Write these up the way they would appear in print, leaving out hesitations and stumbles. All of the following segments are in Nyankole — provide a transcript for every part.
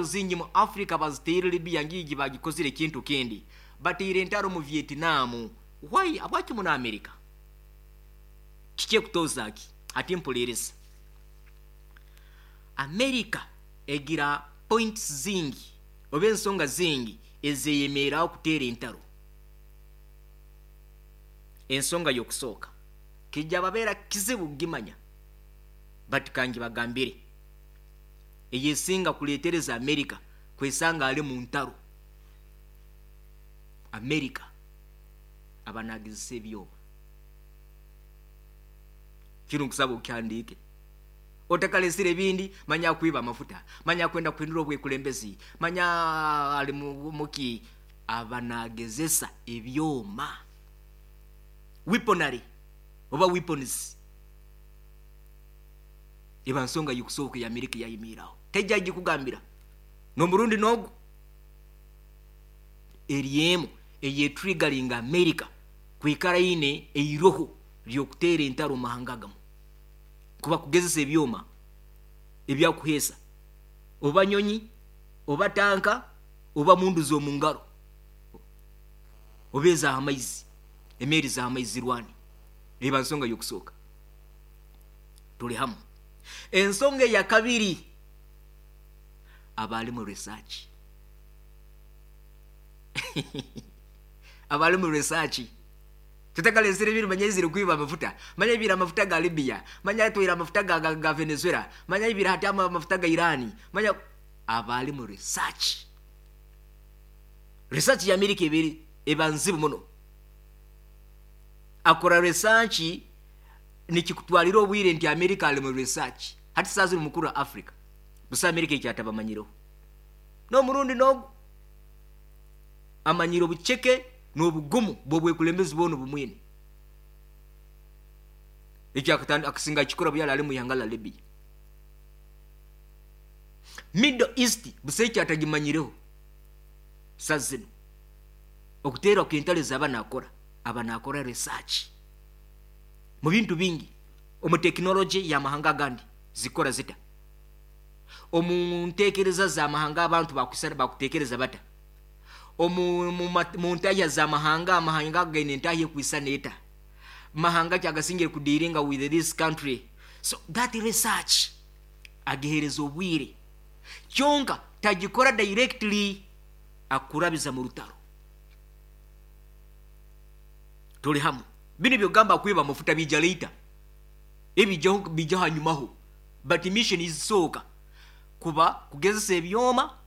Zingi mu Africa baziteire Libya ngiigi bagikozire ekintu kindi. Bateire entaro mu Vietnam. Why? Habwaki muno America? Kiki ekutoza ki? Hati mpuliiriza. America egira points zingi oba ensonga zingi ezeyemeeraho kuteera entaro. Ensonga y'okusooka kija babeera kizibu kugimanya but kangibagambire. Eyesinga kuleetereza America kwesanga ali mu ntaro. America aba nagezesa ebyoma. Kinu nkusaba okihandiike. Otakalesire ebindi, manya akwiba amafuta, manya akwenda kuhindura obwekulembezi, manya ali muki, aba nagezesa ebyoma. Weaponry oba weapons eba nsonga y'okusooka eya America eyayemiiraho. Taija kugikugambira n'omurundi n'ogu. Eri emu eyetrigaringa America kwikara eine eiroho ry'okuteera entaro omu mahanga agamu. Kuba kugezesa ebyoma ebyakuheesa oba nyonyi oba tanka oba mundu z'omu ngaro oba ez'aha maizi, emeeri z'aha maizi zirwane. Eba nsonga y'okusooka. Tuli hamu. Ensonga eyakabiri, aba alimu research. Aba alimu research. Tutakalesire ebintu manya aizire kwiba amafuta, manya aibire amafuta ga Libya, manya atwaire amafuta ga, ga, ga Venezuela, manya aibire hati amafuta ga Iran, manya aba alimu research. Research ya America eba eri eba nzibu muno. Akora research nikikutwarira obwire nti America ali mu research. Hati saaha zinu mukuru wa Africa busa America eki atabamanyireho. N'omurundi n'ogu amanyire obuceke n'obugumu bw'obwekulembezi bwona obumwine. Ekyo akasinga akikora obu yali ali mu ihanga lya Libya. Middle East busa eki atagimanyireho saaha zinu. Okuteerwa kw'entaro ezi aba naakora, aba naakora research mu bintu bingi, omu tekinologye y'amahanga agandi zikukora zita, omu nteekereza z'amahanga abantu bakuteekereza bata, omu mu ntahya z'amahanga, amahanga ago gaine entahya ekwisana eta, mahanga ki agasingire kudiiringa with this country. So that research agiheereza obwire kyonka tagikora directly akurabiza mu rutaro. Turi hamwe. Binu ebyokugamba kwiba amafuta biija later. Ebiijaho biija hanyumaho. But mission ezisooka kuba kugezesa ebyoma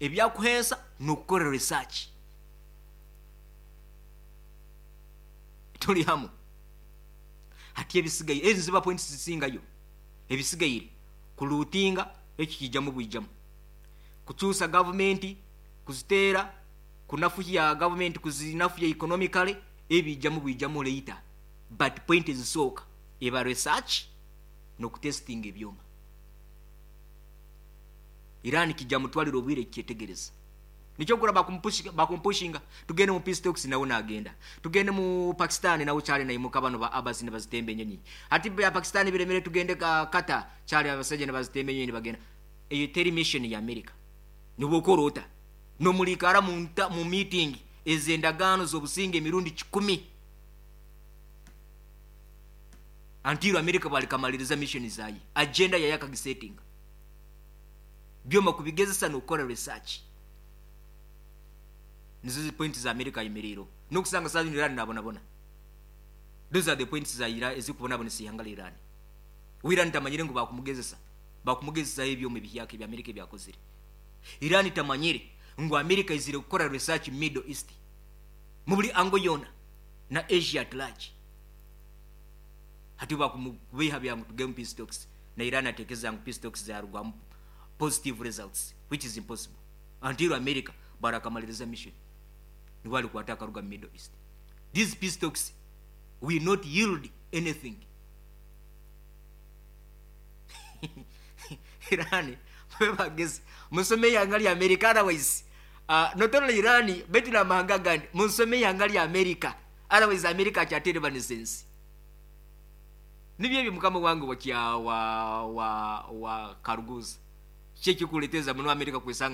ebyakuheesa n'okukora research. Turi hamwe. Hati ebisigaire, ezo niziba points zisingayo. Ebisigaire kulootinga ekyo kiijamu bwijamu. Kukyusa gavumenti, kuziteera, kunafuhya gavumenti, kuzinafuhya economically, ebiijamu bwijamu later. But point ezisooka eba research n'okutestinga ebyoma. Iran kijamutwarira obwire kukyetegereza. Nikyo okura bakumupushinga tugende mu peace talks nawe nagenda. Tugende mu Pakistan nawe kyali naimuka bano ba Abbas nibazitemba enyonyi. Hati bya Pakistan biremire tugende Qatar kyali abasaija nibazitemba enyonyi nibagenda. Eyo teri mission ya America. Nibwo okora ota? Nomurikara mu meeting ez'endagaano z'obusinge emirundi kikumi. Until America bwarikamaliriza mission zaye, agenda yaye akagisetinga. Byoma kubigezesa n'okukora research. Nizo zi points za America ayemereireho. N'okusanga saaha zinu Iran nabonabona. Those are the points za Iran ezikubonabonesa eihanga rya Iran. We Iran tamanyire ngu bakumugezesa, bakumugezesaho ebyoma ebihyaka ebi America ebyakozire. Iran tamanyire ngu America aizire kukora research mu Middle East, mu buri angle yoona na Asia at large. Hati bakumubeiha bya ngu tugende mu peace talks na Iran atekereza ngu peace talks zarugwamu positive results which is impossible until America bwarakamaliriza mission nibwo arikwata akaruga mu Middle East. These peace talks will not yield anything. Iran mube bagezi musome eihanga rya America otherwise uh, not only Iran baitu n'amahanga agandi munsome eihanga rya America otherwise America akyaterebanisa ensi. Nibyo ebyo mukama wange wa wa wa wa Karuguza. Kiki ekikuleteza muno America kwesanga